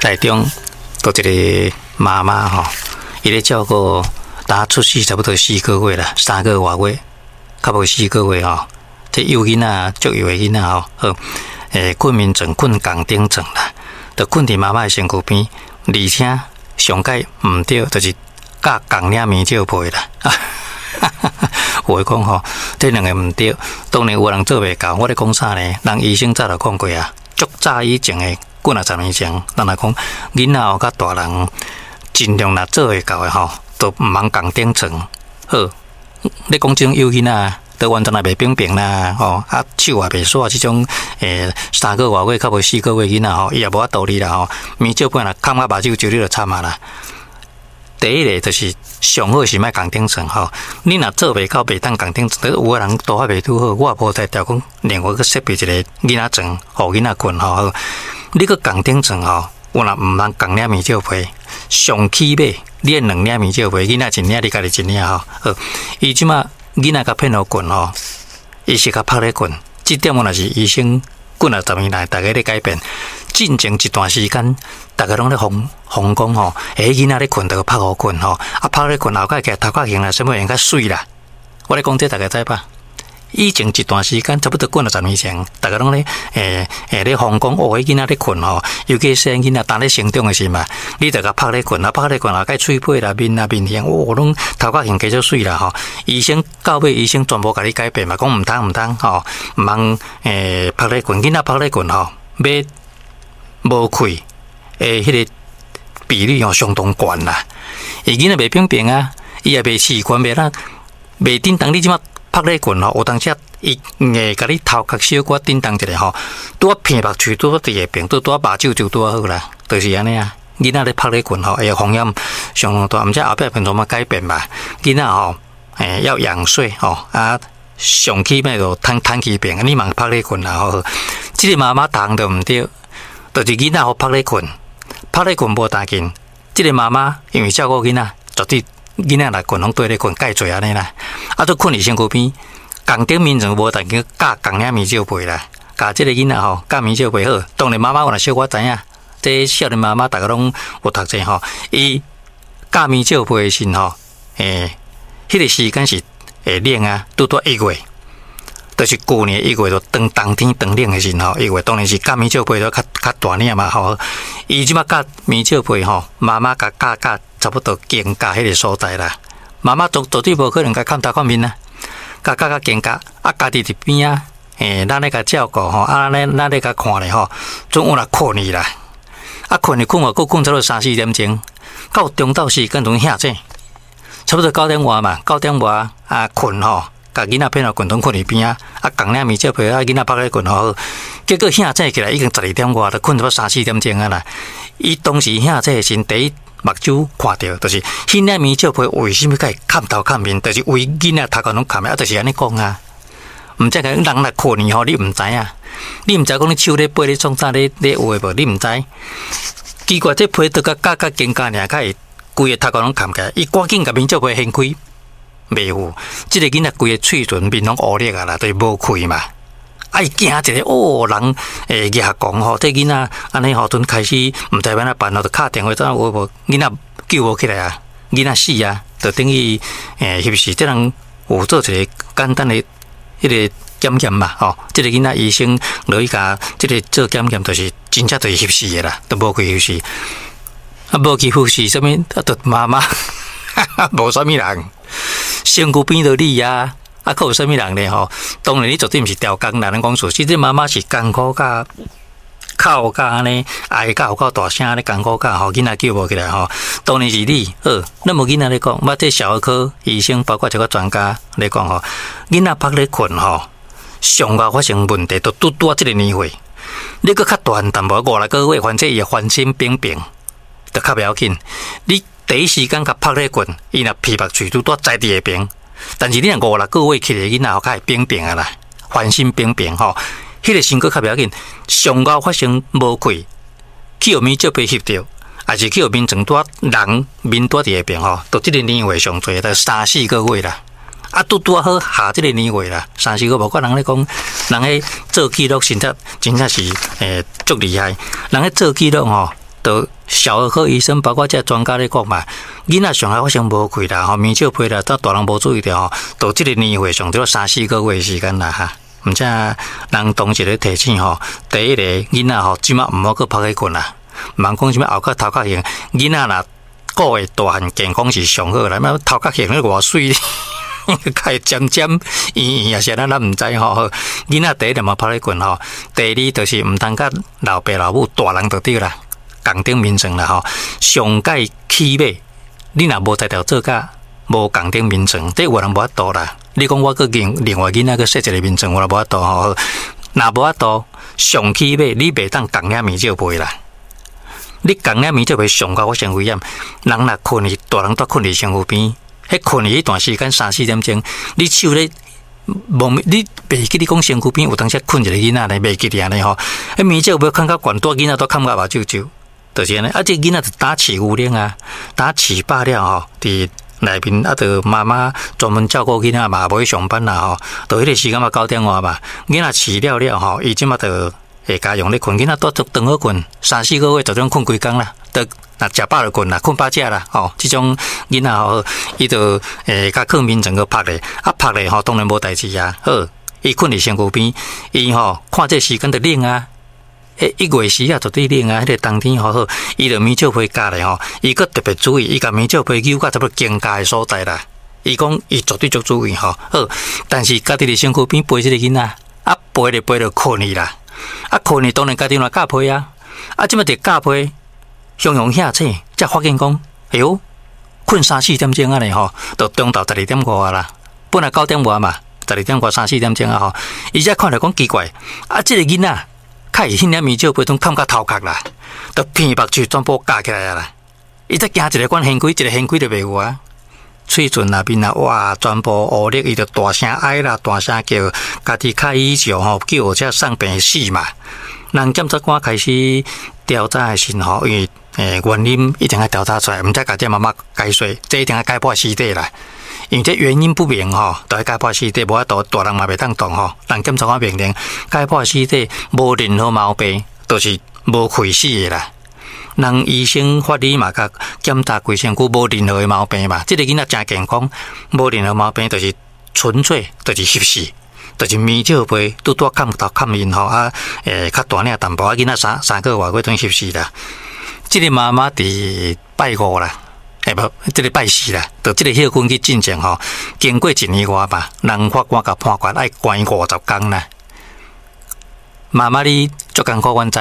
台中有一个媽媽吼，伊咧照顧，打出世差不多四個月啦，3個外月，較無四個月吼。這幼囡仔，足幼的囡仔吼，好，睏眠床睏仝頂床啦，就睏佇媽媽的身軀邊，而且上蓋毋對，就是佮仝領棉罩被啦。有的講吼，這兩个毋對，當然有人做袂到。我咧講啥呢？人醫生早就講過啊，足早以前的幾若十年前，人來講囡仔哦，佮大人盡量若做會到的吼，都毋通仝頂床。好，你講這種幼囡仔，都完全也袂平平啦，吼，啊手也袂煞，這種3個外月較無4個月囡仔吼，伊也無法度理啦吼，棉罩被若崁甲目睭就你就慘啊啦。第一个就是上好是莫仝頂床吼，你若做袂到袂當仝頂床，有的人拄仔袂拄好，我也無才調講另外閣設備一个囡仔床，予囡仔睏吼。好，你閣仝頂床吼，有若毋通仝領棉罩被，上起碼你愛兩領棉罩被，囡仔一領，你家己一領吼。好，伊這馬囡仔共騙予睏吼，伊是共曝咧睏，這點我若是醫生幾若十年來逐家咧改變。進前一段時間，逐家攏咧瘋瘋講吼，囡仔咧睏，就曝予睏吼，啊曝咧睏後蓋起來頭殼型啦，啥物用較媠啦。我咧講這逐家知吧？以前一段時間，差不多幾若十年前，逐家攏咧咧瘋講，哦，彼囡仔咧睏吼，尤其細漢囡仔當咧成長的時嘛，你就共曝咧睏，啊曝咧睏後蓋喙皮啦、面啦、面型，哦，攏頭殼型加足媠啦吼。醫生到尾醫生全部共你改變嘛，講毋通毋通吼，毋通曝咧睏，囡仔曝咧睏吼，欲無氣的彼個比率吼相當懸啦。伊囡仔袂平平啊，伊也袂習慣，袂咱袂振動。你這馬曝咧睏吼，有當時伊會共你頭殼小可振動一下吼，拄仔鼻目喙拄仔佇下邊，拄拄仔目睭就拄仔好啦，就是按呢啊。囡仔咧曝咧睏吼，會風險相當大，毋知後壁變怎麼改變吧？囡仔吼，要仰睡吼，啊，上起碼就攤攤起邊，你嘛曝咧睏啦吼。這個媽媽逐項都毋對，就是囡仔予曝咧睏，曝咧睏無當緊。這個媽媽因為照顧囡仔，絕對囡仔若睏攏綴咧睏，蓋濟按呢啦。啊，都睏佇身軀邊，仝頂眠床無當緊，蓋仝領棉罩被啦，共這個囡仔吼，蓋棉罩被好。當然媽媽有若小可知影，這少年媽媽逐家攏有讀冊吼，伊蓋棉罩被的時吼，彼個時間是會冷啊，拄拄1月，就是舊年1月就當冬天當冷的時吼，1月當然是蓋棉罩被都較較大領嘛吼。伊這馬蓋棉罩被吼，媽媽共蓋蓋差不多肩胛彼個所在啦。媽媽絕絕對無可能共崁頭崁面啊，共蓋較肩胛，啊，家己佇邊仔，咱咧共照顧吼，啊，咱咧共看咧吼，總有若睏去啦。啊，睏去睏予閣睏差不多三四點鐘，到中晝時間陣醒醒，差不多9點外嘛，9點外啊睏吼，共囡仔騙予睏，陣睏佇邊仔，啊，仝領棉罩被啊，囡仔曝咧睏吼，結果醒醒起來已經12點外，就睏差不多三四點鐘啊啦。伊當時醒醒的時，第一目睭看著，就是彼領棉罩被為啥物共伊崁頭崁面，就是為囡仔頭殼攏崁的，啊，就是按呢講啊。毋知講人若睏去吼，你毋知影，你毋知講你手咧背咧創啥咧咧有的無，你毋知。奇怪，這被都共蓋較肩胛爾，較會規个頭殼攏崁起來。伊趕緊共棉罩被掀開，袂有。這個囡仔規个喙唇面攏烏綠啊啦，就是無氣嘛。啊！伊驚一个，哦，人會舉講吼，這囡仔按呢吼，陣開始毋知欲按怎辦咯，就敲電話怎有無囡仔救無起來啊？囡仔死啊，就等於翕死。這人有做一个簡單的彼个檢驗嘛，吼，這個囡仔醫生落去共這個做檢驗，就是真正就是翕死的啦，都無氣翕死。啊，無氣翕死，啥物啊？就媽媽，無啥物人，身軀邊就你啊。啊，閣有啥物人咧吼？當然，你絕對毋是刁工啦。咱講事實，這媽媽是艱苦甲哭甲按呢，哀甲有夠大聲咧，艱苦甲吼，囡仔救無起來吼。當然是你好，咱無囡仔咧講，捌這小兒科醫生，包括一個專家咧講吼，囡仔曝咧睏吼，上後發生問題，都拄拄仔這個年歲，你閣較大漢淡薄五六個月，反正伊會翻身平平，就較袂要緊。你第一時間共曝咧睏，伊若鼻目喙拄拄仔佇下爿。但是你若五六個月起來囡仔，較會平平啊啦，翻身平平吼，彼個身軀較袂要緊。上後發生無氣，去予棉罩被翕著，抑是去予眠床拄人面拄佇下爿吼，就這個年歲上濟，就三四個月啦。啊，拄拄好下這個年歲啦，三四個月，無怪人咧講，人彼做記錄，實在真正是足厲害。人彼做記錄吼，就小兒科醫生包括這專家咧講嘛，囡仔上愛發生無氣啦，吼，眠笑皮啦，當大人無注意著吼，到這個年歲上著三四個月時間啦哈。毋知人當時咧提醒吼，第一個囡仔吼，這馬毋好閣曝咧睏啦，毋通講啥物後殼頭殼型，囡仔若顧會大漢健康是上好啦，欲頭殼型咧偌媠，較會尖尖圓圓，抑是按怎咱毋知吼。囡仔第一毋好曝咧睏吼，第二就是毋通佮老爸老母大人就對啦。仝頂眠床啦吼，上蓋起碼你若無才調做甲無仝頂眠床，這有人無法度啦。你講我閣另外囡仔閣設一個眠床，我也無法度吼。若無法度，上起碼你袂當仝領眠罩被啦。你仝領眠罩被上較發生危險。人若睏去，大人都睏佇身軀邊，彼睏去彼段時間三四點鐘，你手咧無，你袂記你講身軀邊有當時睏一個囡仔咧，袂記得按呢吼。彼眠罩被囥較懸，蹛囡仔都崁甲目睭睭。就是按呢，啊，這囡仔就打飼牛奶啊，打飼飽了吼，佇內面啊，著媽媽專門照顧囡仔嘛，無去上班啦吼，到彼個時間嘛九點外嘛，囡仔飼了了吼，伊這馬就會家用咧睏，囡仔都足長好睏，三四個月就種睏規工啦，就若食飽就睏啦，睏飽食啦，吼，這種囡仔吼，伊就會共囥眠床閣曝咧，啊曝咧吼，當然無代誌啊，好，伊睏佇身軀邊，伊吼看這時間就冷啊。欸，一月時啊，絕對冷啊！彼個冬天好好，伊就眠罩被蓋咧吼，伊閣特別注意，伊共眠罩被扭到差不多肩胛的所在啦。伊講伊絕對足注意吼，好，但是家己佇身軀邊陪這個囡仔，啊陪咧陪著睏去啦，啊睏去當然家己嘛蓋被啊，啊這馬佇蓋被，雄雄嚇醒，才發現講，哎喲，睏三四點鐘按呢吼，就中晝十二點外啦，本來九點外嘛，十二點外三四點鐘啊吼，伊才看著講奇怪，啊這個囡仔。較會彼領眠罩被攏崁甲頭殼啦，都鼻目睭全部蓋起來啊啦！伊才驚一个管掀開，一个掀開就袂有啊。喙唇內面啊，哇，全部烏綠，伊就大聲哀啦，大聲叫，家己較以上吼，救護車送病死嘛。人檢察官開始調查的時吼，因為原因一定愛調查出來，毋才共這媽媽解說，這一定愛解剖屍體啦。因為這原因不明吼，就愛解剖屍體，無法度大人嘛袂當動吼。人檢察官命令解剖屍體，無任何毛病，就是無氣死的啦。人醫生法醫嘛，共檢查規身軀無任何的毛病嘛。這個囡仔誠健康，無任何毛病，就是純粹就是翕死，就是眠罩被拄拄崁頭崁面吼啊，較大領淡薄啊，囡仔三個外月等於翕死啦。這個媽媽佇拜五啦。欸無，這個拜四啦，就這個歇睏去進前吼，經過一年外吧，人法官共判決愛關50工啦。媽媽你足艱苦，阮知，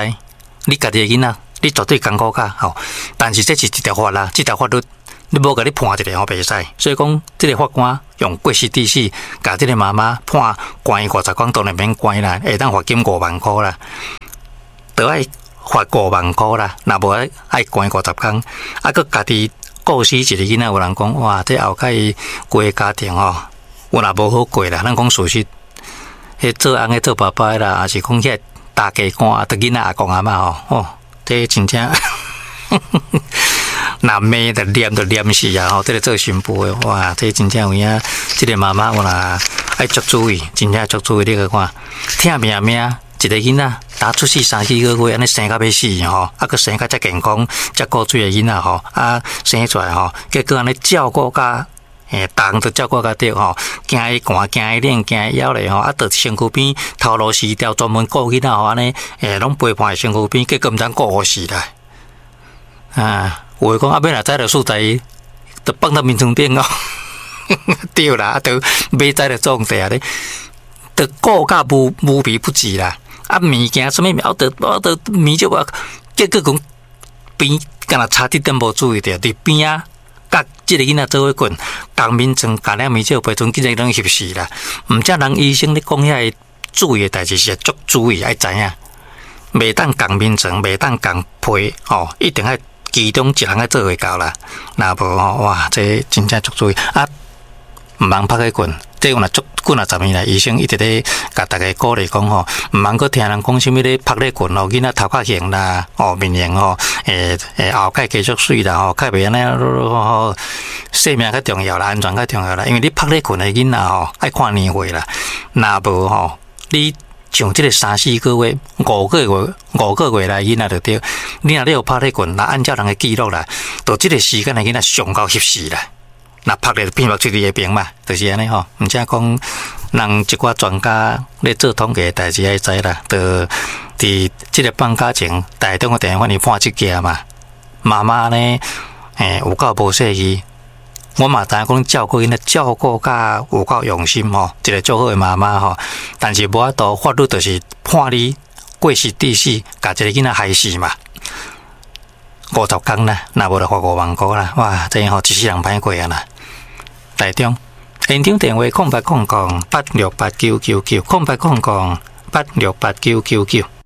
你家己的囡仔，你絕對艱苦較吼。但是這是一條法啦，這條法律，你無共你判一个吼袂使。所以講，這個法官用過失致死，共這個媽媽判關50工，當然免關啦，會當罰金5萬箍啦，著愛罰5萬箍啦，若無愛愛關50工，啊，閣家己。顧死一个囡仔，有人講哇，這後蓋規個家庭吼，有若無好過啦。咱講事實，彼做翁的做爸爸的啦，抑是講遐大家官，著囡仔阿公阿嬤吼，哦，這真正若罵著念著念死啊！吼，這個做新婦的，哇，這真正有影，這個媽媽有若愛足注意，真正足注意。你閣看，疼命命。一個囡仔，打出世三四個月，按呢生甲欲死吼，啊，閣生甲遮健康、遮顧水的囡仔吼，啊，生出來吼，結果按呢照顧甲，逐項都照顧甲著吼，驚伊寒、驚伊冷、驚伊枵咧吼，啊，佇身軀邊頭路死掉，專門顧囡仔吼，按呢，攏陪伴佇身軀邊，結果毋知顧予死啦。啊，有的講啊，欲若知著素材，就放到眠床頂哦。對啦，啊，著欲知著創地啊咧，著顧甲無無微不至啦。啊，物件啥物物，我著物就我，結果講邊敢若差一點無注意著，佇邊仔佮這個囡仔做伙睏，仝眠床共領眠罩被，陣竟然攏翕死啦！毋才人醫生咧講遐個注意的代誌是足注意愛知影，袂當仝眠床，袂當仝被，吼，一定愛其中一人愛做會到啦。若無吼，哇，這真正足注意啊！毋通曝咧睏，這有若足幾若十年來，醫生一直咧共大家鼓勵講吼，毋通閣聽人講啥物咧曝咧睏吼，囡仔頭殼型啦，哦面型吼，會會後蓋繼續媠啦吼，較袂按呢吼，性命較重要啦，安全較重要啦，因為你曝咧睏的囡仔吼，愛看年歲啦，若無吼，你。像這个三四个月、五个月、五个月來囡仔就對。你若你有拍咧棍，若按照人的記錄啦，到這个時間的囡仔上夠翕死啦。若拍咧變目出佇下邊嘛，就是按呢吼。毋才講人一寡專家咧做統計的代誌愛知啦，就佇這个放假前，台中的電話你判這件嘛。媽媽呢，有夠無細意。我嘛知影講照顧囡仔照顧甲有夠用心吼，一个足好的媽媽吼。但是無法度，法律就是判你過失致死，共一个囡仔害死嘛。50工啦，若無就罰5萬箍啦。哇，這吼一世人歹過啊啦。台中現場電話0800868999，0800868999。